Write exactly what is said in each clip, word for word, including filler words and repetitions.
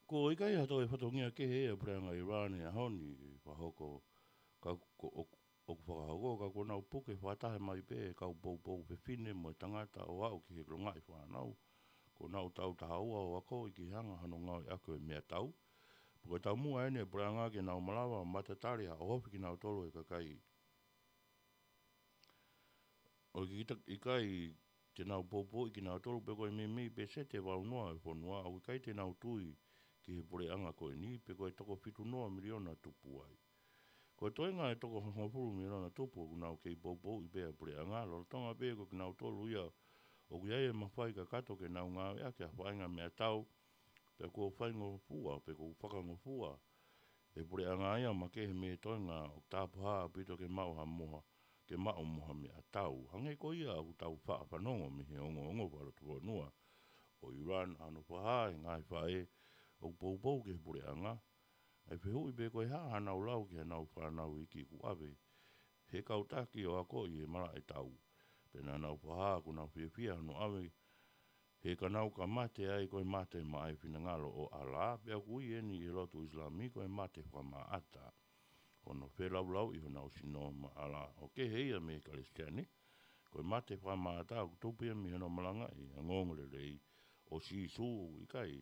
Ko e ʻikai ha toe fatongia kehe ʻa e puleʻanga ʻIrani he ʻaho ni ʻe fakahoko, ka ko ʻoku, ʻoku fakahoko, ka kuo nau puke fakataha mai pē e kau poupou fefine mo e tangata ʻo aʻu ki he longaʻi fānau. Kuo nau tautaha ua ʻo akoʻi ki he anga hono ngāueʻaki ʻo e meʻatau. Pea ko e taumuʻa eni ʻa e puleʻanga ke nau malava ʻo matatali ha ʻohofi kinautolu ʻe he kakai ʻoku ʻikai te nau poupouʻi kinautolu, pea ko e meimei peseti ʻe valu noa ʻo e fonua ʻoku ʻikai te nau tui ki he puleʻanga ko eni, pea ko e toko fitu noa miliona tupu ai. Ko e toenga ʻo e toko hongofulu miliona tupu ʻoku nau kei poupouʻi pē ʻa e puleʻanga, lolotonga pē ko kinautolu ia ʻoku ʻi ai e mafai kakato ke nau ngāueʻaki ha faʻahinga meʻatau, pea kuo faingofua, pea kuo fakangofua ʻe he puleʻanga ia ʻo makehe mei he toenga ʻoku tāpuhā ʻaupito ke maʻu ha moha, ke maʻu mo ha meʻatau. Hangē ko ia ʻoku tau faʻa fanongo mei he ongoongo fakalotofonua ʻo ʻIrani, ʻa hono fakahā ʻe he ngaahi faʻē ʻoku poupou ki he puleʻanga, ʻa e fehuʻi pe ko e hā haʻanau lau ki haʻanau fānau iiki kuo ʻave he kau taki ʻo akoʻi he malaʻe tau. Pea naʻa nau fakahā ʻoku nau fiefia hono ʻave, he ka nau ka mate ai ko e mate maʻa e finangalo ʻo ʻAlā, pea ʻoku ui eni ʻi he lotu ʻIsilami ko e mate fakamaʻata. Ko hono felaulauʻi honau sino maʻa ʻAlā. ʻOku kehe ia mei he Kalisitiane, ko e mate fakamaʻata ʻoku tupu ia mei hono malangaʻi ʻa e ongoongolelei ʻo Sīsū, ʻoku ʻikai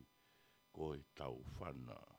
ko e taufana.